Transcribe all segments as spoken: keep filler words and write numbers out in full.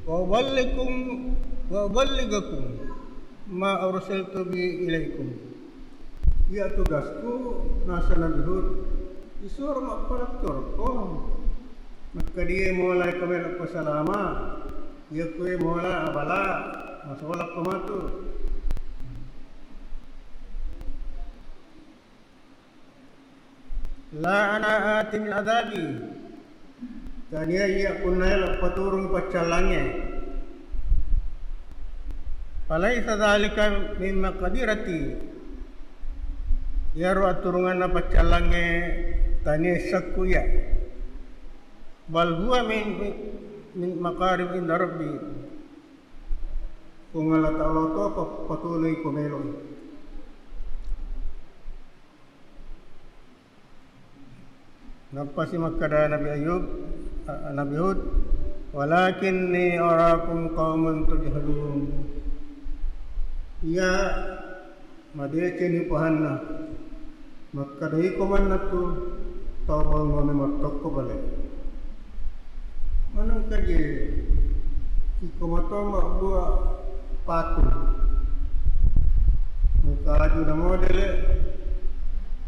Wa uballighukum, wa uballighakum ma arsaltu bi ilaikum. Iya tugasku, naseng Nabi Hud, isuro mappaletturekko. Makkedai mola ko melo ko salama, iya kue mola abala, masolakko matu. La ana atin bil adzabi, tania iya punna elo paturung paccallangnge. Falaisa dzalika min maqdirati, iyaro aturunganna paccallangnge tania sakku iya. Bal huwa min, min maqdir inda rabbi. Puang Allah Ta'ala to pa-, patuloi ko meloi. Nappasi makkeda Nabi Ayub, a-, Nabi Hud, "Walakinni arakum qauman tajhalun." Iya, madeceng upahanna. Makkeda iko manna tu tau banguwanna mattokko bale. Manengka je iko mato mabbua patung. Engka aju na modele,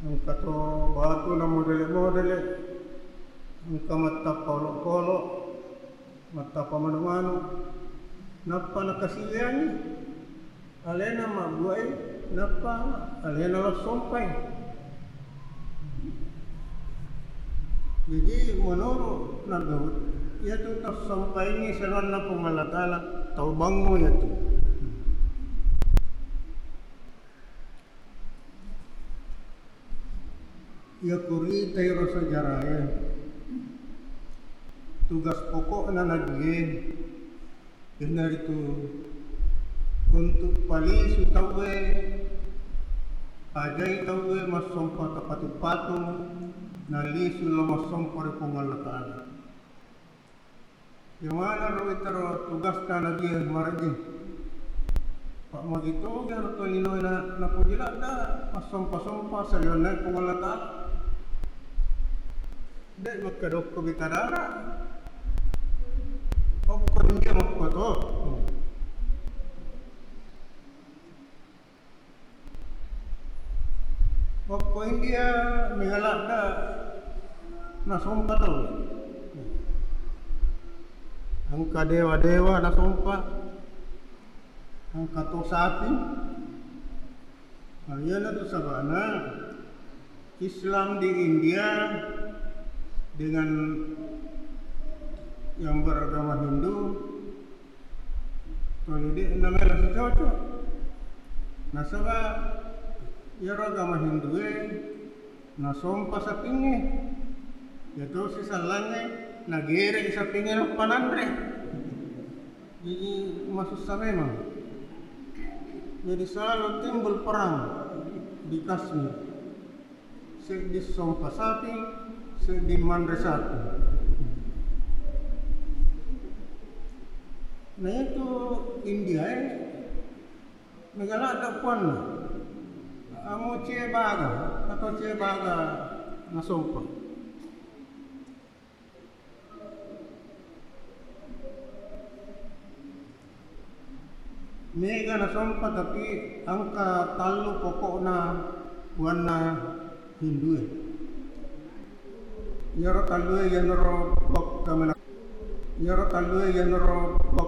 engka to batu na modele-modele, engka mattappa olokolo, mattappa manu-manu, nappa nakasiwiangngi. Alena mabbuai, nappa alena lassompai. Jadi menurut Nabi Daud, iyatu tassompaini seranna Puang Allah Ta'ala, tau bangngo iyatu. Iya kurita iro sejarah e, tugas pokokna Nabi e, iyanaritu untuk palisu tauwe, ajai tauwe massompa tapatu-patu, nalisu lo massompa ri Puang Allah Ta'ala. Iyamanaro itaro tugasta Nabi e marejjing. Pa magi toga ro tolinoe na, napoji ladda massompa-sompa saliwenna Puang Allah Ta'ala. De' makkedokko bita dara. Okko India makko to. Okko India mega ladda nasompa tau. Engka dewa-dewa nasompa, engka to sapi. Nah, iyanatu sabana Islam di India dengan yang beragama Hindu Tuli de' namela sicocok. Nasaba iyaro agama Hindue nasompa sapingnge. Iyatosi sallangnge nagere sapingnge nappa nanre. Jadi masussa memang. Jadi selalu timbul perang di Kashmir. Seddi sompa sapi, seddi manre sapi. Na itu India e, mega ladda puanna. Amo Che Baga, atau Che Baga nasompa. Mega nasompa, tapi engka tallu pokokna puanna Hindue. Iyaro tallue iyanaro pekkamena-, iyaro tallue iyanaro